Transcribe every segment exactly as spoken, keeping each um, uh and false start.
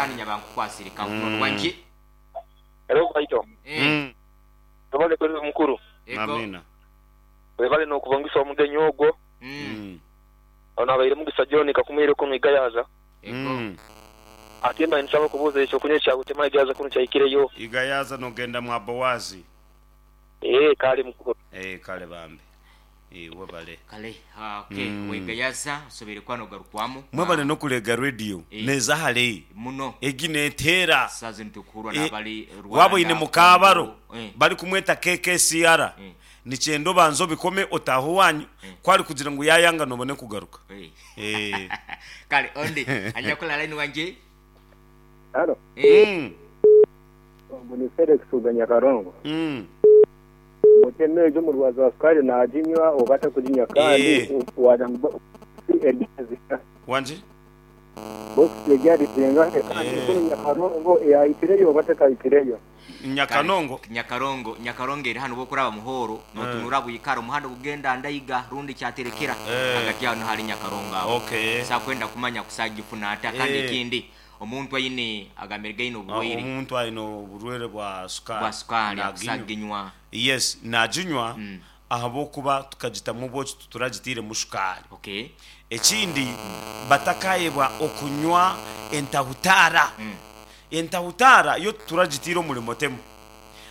Kandi nyabankukwasire kankunoni wangi. Hello Kaito. Eh. Mm. Webale kuwereza mukulu. Ego. Amina. Webale nokubongisa omugenyi ogwo. Mm. Mm. Ono abaire Mugisa John kakumwire kunu Igayaza. Ego. Mm. Ate mbaire nsaba okubuuza ekyo kunywa ekya Butema Igayaza kunu kyaikireyo. Igayaza nogenda mwa Bowazi. Ee kale mukulu. Eh, kale bambi. Eh, webale. Kale, ah, okay. Mm. Wegayaza osobere kwano garukwamu. Mwebale Ah, nokulega radio Eh. neza hale muno egi neteera sazi nitukuhurwa Eh, nabali Rwanda. waboine mukabaro Eh. bari kumweta K K C R. Eh. Nikyenda obanza obikome otahe owanyu kwari kugira ngu yayanga nobone kugaruka. Eh. Eh. Kale ondi anyakola line wanje. Halo, Eh. Mm. ubu ni Felix Uganyakarongo. Mm. Muteme ejo murwazi wa sukari naginywa oba atakuginywa kandi Eh. wagira ngu eryaziha. Wanje. Bokisi eryarizenga kandi Eh. kunu Nyakarongo yahitireyo oba atakahitireyo. Nyakanongo. Nyakarongo, Nyakarongo eri hano bokuraba muhoro notunura bwikara omuhanda gugenda Ndaiga rundi Kyaterekera. Eh. Hagati aho hari Nyakarongo aho. Okay. Sakwenda kumanya kusagifuna ata kandi Eh. ekindi omuntu aine agambire gaine Ah, oburwaire omuntu aine oburwaire bwa sukari bwa sukari naginywa. akusaginywa. Yes, naginywa Mm. ahabwokuba tukagitamu obwoki, tuturagitiiremu shukaari. Okay. Ekindi, batakayebwa okunywa entahutaara. Mm. Entahutaara yo tuturagitiire omurimo temu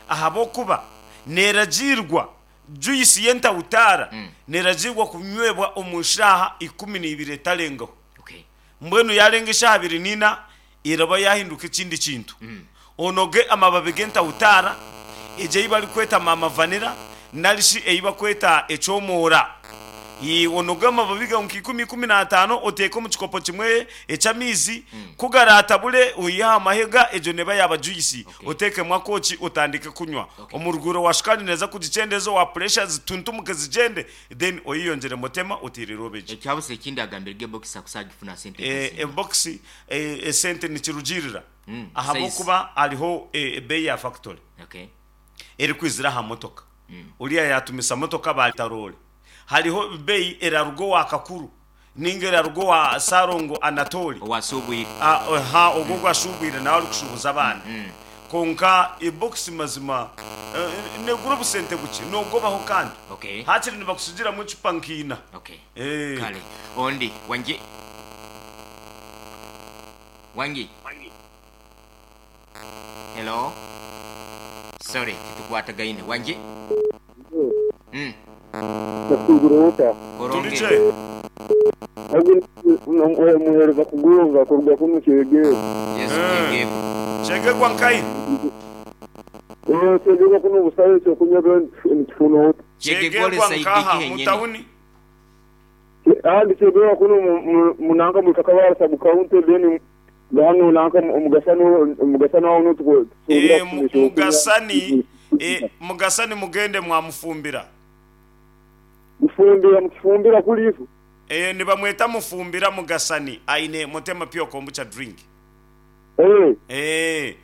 ahabwokuba neragiirwa juice y'entahutaara Mm. neragiirwa kunywebwa omu shaaha ikumi n'ibiri etarengaho. Okay. Mbwenu yarenga eshaaha abiri n'ina eraba yahinduka ekindi kintu. Mm. Onoge amababi g'entahutaara egyo ei barikweta mama vanilla narishi ei bakweta ekyomoora. Ii, onoge amababi gawe nka ikumi, ikumi n'ataano, oteeke omu kikopo kimwe eky'amaizi kugaratabure oihe aha mahega, egyo neba yaba juice. Okay. Oteekemu akooki otandike kunywa. Okay. Omuruguro wa shukaari neeza kugikyendeza, owa pressure zituntumuke zigyende, then oyeyongyere mutema oteerere obegye. Ekyabusa ekindi agambire ge bokisi akusagifuna sente Eh, ezisinga. Ebokisi eh, esente nikirugirira Mm, ahabwokuba hariho eh, ebeeyi ya factory Okay. erikwizira aha motoka, uriya yatumisa motoka batarore, hariho beeyi eraruga owa Kakuru ninga eraruga owa Sarongo Anatoli. Owasubwire. Ah, ha ogwo gwashubwire nawe arikushubuza abaana. Konka ebokisi mazima eh, negura obusente bukye nogobaho kandi Okay. hakiri nibakusigiramu ecupa nkiina. Okay. Eh. Kale ondi wangi wangi. Hello, sorry, titukwatagaine wangi. Mm. Nakugura Koronge. Turije. Omuhereza kugonga kuruga kunu Kyegegwa. Yes. Eh. Kyegegwa. Kyegegwa nkai? Eh, Kyegegwa kunu busabe ekyokunywa nikifuna ota. Kyegegwa ole Kyegegwa saidi nkaha kihenyene. mutawuni? Ahandi Kyegegwa kunu mu- mu- munanka mu Kakabara sub county, then hano nanka omugasani omugasani aho nutuko. Eh, mu- mugasani eh, mugasani mugende mwamufumbira. Mufumbira, mukifumbira kulifu. Eh, nibamweta Mufumbira Mugasani, aine Mutema Pure Kombucha drink. Eh. Eh,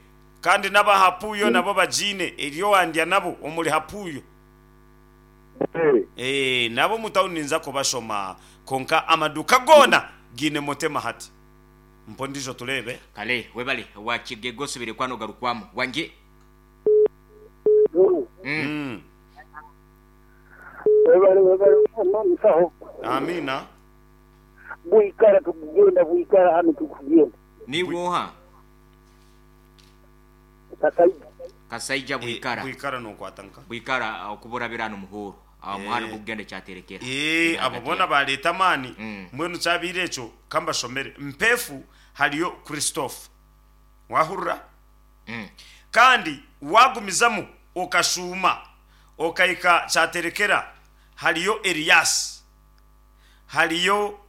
kandi n'abahapuyo nabo bagiine eryo wandya nabo omuri Hapuyo. Eh. Eh, nabo mutawuni ninza kubashoma, konka amaduka gona giine Mutema hati mpo ndijo turebe. Kale webale wa Kyegegwa, osubire kwano garukwamu wangi. Mm. Mm. Webale, webale musaho. Amina. Bwikara tukugenda, bwikara hano tukugenda. Niwoha? Kasaija. Kasaija. Eh, Bwikara. Bwikara nokwata nka Bwikara okuburabira hano muhoro aho muhanda Eh. gugenda Kyaterekera. Eh, abo bona bareta amaani. Mm. Mbwenu kyabaire ekyo kambashomere mpefu hariyo Christophe wahurura. Mm. Kandi wagumizamu okashuuma okahika Kyaterekera hariyo Elias, hariyo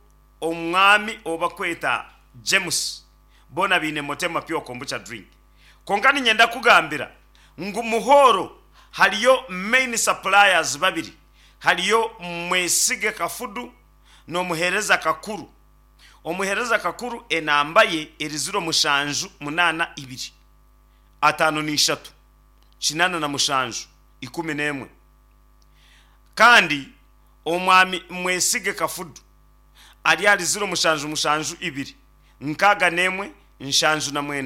omwami obakweta James, bona biine Motema Pure Kombucha drink. Konka ninyenda kugambira ngu muhoro hariyo main suppliers babiri, hariyo Mwesige Kafudu n'omuhereza Kakuru. Omuhereza Kakuru enamba ye eri ziro mushanju munaana ibiri ataano n'ishatu kinana na mushanju ikumi n'emwe, kandi omwami Mwesige Kafudu ari ari ziro mushanju mushanju ibiri nkaaga n'emwe nshanju na mwenda.